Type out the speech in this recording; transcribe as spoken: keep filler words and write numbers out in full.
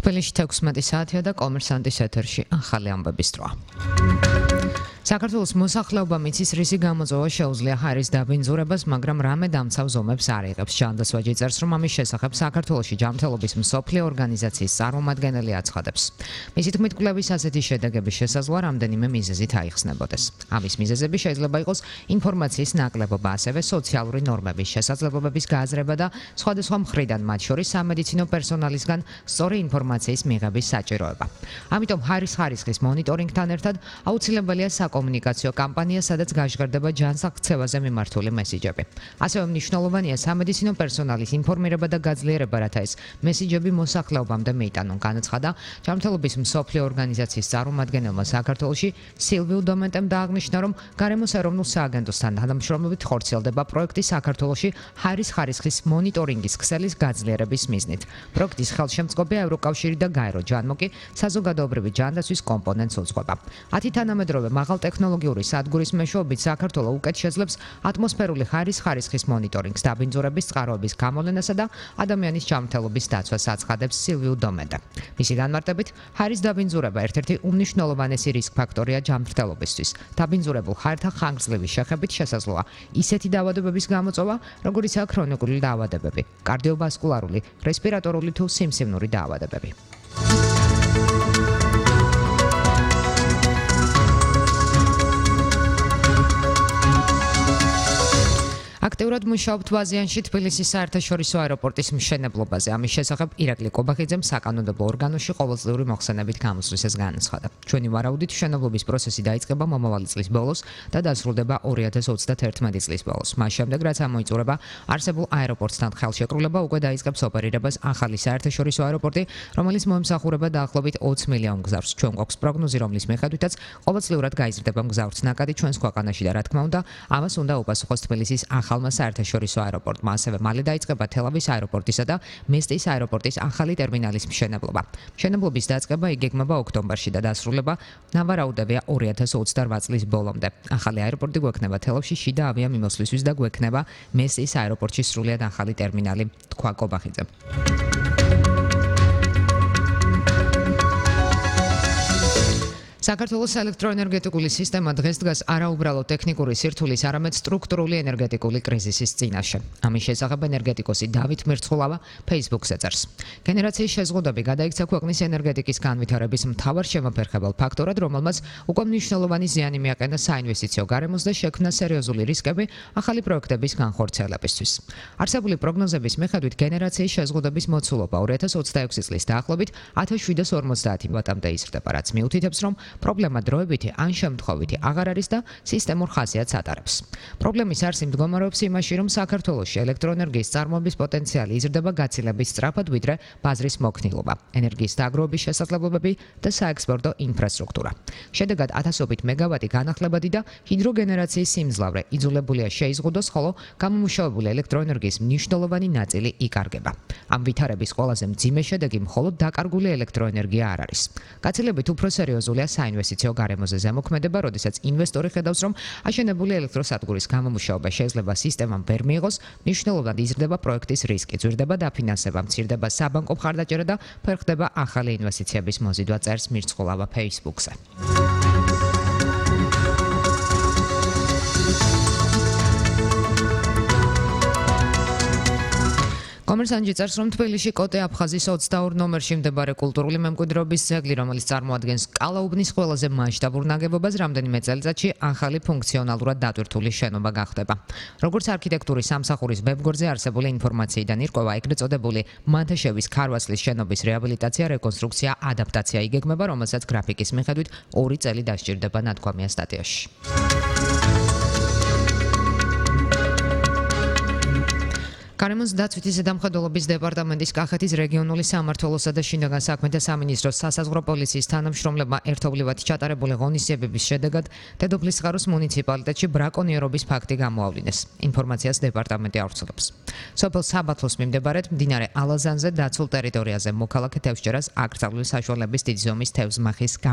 თბილისში თექვსმეტი საათია და კომერსანტის ეთერში ახალი ამბების დროა. საქართველოს მოსახლეობა მიწის რისი გამოწვევა შეუძლია ჰაერის დაბინძურებას, მაგრამ რამე დამცავ ზომებს არ იღებს. ჟანდას ვაჯი წერს, რომ ამის შესახებ საქართველოში ჯანმრთელობის მსოფლიო ორგანიზაციის წარმომადგენელი აცხადებს. მისი თქმით, კვლევის ასეთი შედეგების შესაძლოა რამდენიმე მიზეზით აიხსნებოდეს. ამის მიზეზები შეიძლება იყოს ინფორმაციის ნაკლებობა, ასევე სოციალური ნორმების შესაძლებლობების გააზრება და სხვადასხვა მხრიდან, მათ შორის სამედიცინო პერსონალისგან სწორი ინფორმაციის მიღების საჭიროება. ამიტომ ჰაერის ხარისხის მონიტორინგთან ერთად აუცილებელია საკომუნიკაციო კამპანია, სადაც გაჟღერდება ჯანსაღწევაზე მიმართული მესიჯები. ასევე მნიშვნელოვანია სამედიცინო პერსონალის ინფორმირება და გაძლიერება, რათა ეს მესიჯები მოსახლეობამდე მიიტანონ, განაცხადა ჯანმრთელობის მსოფლიო ორგანიზაციის წარმომადგენელმა საქართველოში სილვიუ დომენტემ და აღნიშნა, რომ გარემოს ეროვნულ სააგენტოსთან თანამშრომლობით ხორციელდება პროექტი საქართველოში ჰაერის ხარისხის მონიტორინგის ქსელის გაძლიერების მიზნით. პროექტის ხელშემწყობია ევროკავშირი და გაერო ჯანმო კი საზოგადოებრივი ჯანდაცვის კომპონენტს უძღვება. ათი თანამედროვე მაღალ ტექნოლოგიური სადგურის მეშვეობით საქართველო უკეთ შეძლებს ატმოსფერული ჰაერის ხარისხის მონიტორინგს, დაბინძურების წყაროების გამოვლენასა და ადამიანის ჯანმრთელობის დაცვას აცხადებს სილვიუ დომენტე. მისი განმარტებით, ჰაერის დაბინძურება ერთ-ერთი უმნიშვნელოვანესი რისკ ფაქტორია ჯანმრთელობისთვის. დაბინძურებულ ჰაერთა ხანგრძლივი შეხებით შესაძლოა ისეთი დაავადებების გამოწვევა, როგორიცაა ქრონიკული დაავადებები, კარდიოვასკულარული, რესპირატორული თუ სიმსივნური დაავადებები. აქტიურად მუშაობთ ვაზიანში თბილისის საერთაშორისო აეროპორტის მშენებლობაზე. ამის შესახებ ირაკლი კობახიძემ საკანონმდებლო ორგანოში ყოველწლიური მოხსენებით გამოსვლისას განაცხადა. ჩვენი ვარაუდით მშენებლობის პროცესი დაიწყება მომავალი წლის ბოლოს და დასრულდება ორი ათას ოცდაათერთმეტი წლის ბოლოს. მას შემდეგ, რაც ამოიწურება არსებულ აეროპორტთან ხელშეკრულება, უკვე დაიწყებს ოპერირებას ახალი საერთაშორისო აეროპორტი, რომელიც მოემსახურება დაახლოებით ოცი მილიონ მგზავრს. ჩვენ გვაქვს პროგნოზი, რომლის მიხედვითაც ყოველწლიურად გაიზრდება მგზავრთა ნაკადი ჩვენს ქვეყანაში და რა თქმა უნდა, ამას უნდა უპასუხოს თბილისის ახალმა საერთაშორისო აეროპორტმა. ასევე მალე დაიწყება თელავის აეროპორტისა და მესტის აეროპორტის ახალი ტერმინალის მშენებლობა. მშენებლობის დაწყება იგეგმება ოქტომბერში და დასრულება ნავარაუდებია ორი ათას ოცდარვაც წლის ბოლომდე. ახალი აეროპორტი გვექნება თელავში შიდა ავიამიმოსვლისთვის და გვექნება მესტის აეროპორტში სრულიად ახალი ტერმინალი, თქვა კობახიძემ. საქართველოს ელექტროენერგეტიკული სისტემა დღეს დგას არაუბრალო ტექნიკური სირთულის, არამედ სტრუქტურული ენერგეტიკული კრიზისის წინაშე. ამის შესახებ ენერგეტიკოსი დავით მერცხულავა Facebook-ზე წერს. გენერაციის შეზღუდვები გადაიქცა ქვეყნის ენერგეტიკის განვითარების მთავარ შემოფერხებელ ფაქტორად, რომელმაც უკვე მნიშვნელოვანი ზიანი მიაყენა საინვესტიციო გარემოს და შექმნა სერიოზული რისკები ახალი პროექტების განხორციელებისთვის. არსებული პროგნოზების მიხედვით გენერაციის შეზღუდვების მოცულობა ორი ათას ოცდაექვსი წლის დაახლოებით ათას შვიდას ორმოცდაათი ვატამდე იზრდება, რაც მიუთითებს, რომ პრობლემა დროებითი ან შემთხვევითი აღარ არის და სისტემურ ხასიათს ატარებს. პრობლემის არსი მდგომარეობს იმაში, რომ საქართველოში ელექტროენერგიის წარმოების პოტენციალი იზრდება გაცილებით სწრაფად, ვიდრე ბაზრის მოქნილობა, ენერგიის დაგროვების შესაძლებლობები და საექსპორტო ინფრასტრუქტურა. შედეგად ათასობით მეგავატი განახლებადი და ჰიდროგენერაციის სიმძლავრე იძულებულია შეიზღუდოს, ხოლო გამომუშავებული ელექტროენერგიის მნიშვნელოვანი ნაწილი იკარგება. ამ ვითარების ყველაზე მძიმე შედეგი მხოლოდ დაკარგული ელექტროენერგია არ არის. გაცილებით უფრო სერიოზულია საინვესტიციო გარემოზე ზემოქმედება, როდესაც ინვესტორი ხედავს, რომ აშენებული ელექტროსადგურის გამომუშავება შეიძლება სისტემამ ვერ მიიღოს, მნიშვნელოვნად იზრდება პროექტის რისკი, ძვირდება დაფინანსება, მცირდება საბანკო მხარდაჭერა და ფერხდება ახალი ინვესტიციების მოზიდვა, წერს მერცხულავა Facebook-ზე. კომერსანტი წერს, რომ თბილისში კოტე აფხაზის ოცდაორ ნომერში მდებარე კულტურული მემკვიდრეობის ძეგლი, რომელიც წარმოადგენს კალაუბნის ყველაზე მასშტაბურ ნაგებობას, რამდენიმე წელიწადში ახალი ფუნქციონალურად დატვირთული შენობა გახდება. როგორც არქიტექტურის სამსახურის ვებგვერდზე არსებული ინფორმაციიდან ირკვევა, ეგრეთ წოდებული მანთაშევის ქარვასლის შენობის რეაბილიტაცია, რეკონსტრუქცია, ადაპტაცია იგეგმება, რომელსაც გრაფიკის მიხედვით ორი წელი დასჭირდება, ნათქვამია სტატიაში. გარემოს დაცვითი ზედამხედველობის დეპარტამენტის კახეთის რეგიონული სამმართველოსა და შინაგან საქმეთა სამინისტროს სასაზღვრო პოლიციის თანამშრომლებმა ერთობლივად ჩატარებული ღონისძიებების შედეგად დედოფლის წყაროს მუნიციპალიტეტში ბრაკონიერობის ფაქტი გამოავლინეს. ინფორმაციას დეპარტამენტი ავრცელებს. სოფელ საბათლოს მიმდებარედ მდინარე ალაზანზე დაცულ ტერიტორიაზე მოქალაქე თევზჭერას აკრძალული საშუალების დიდი ზომის თევზმახის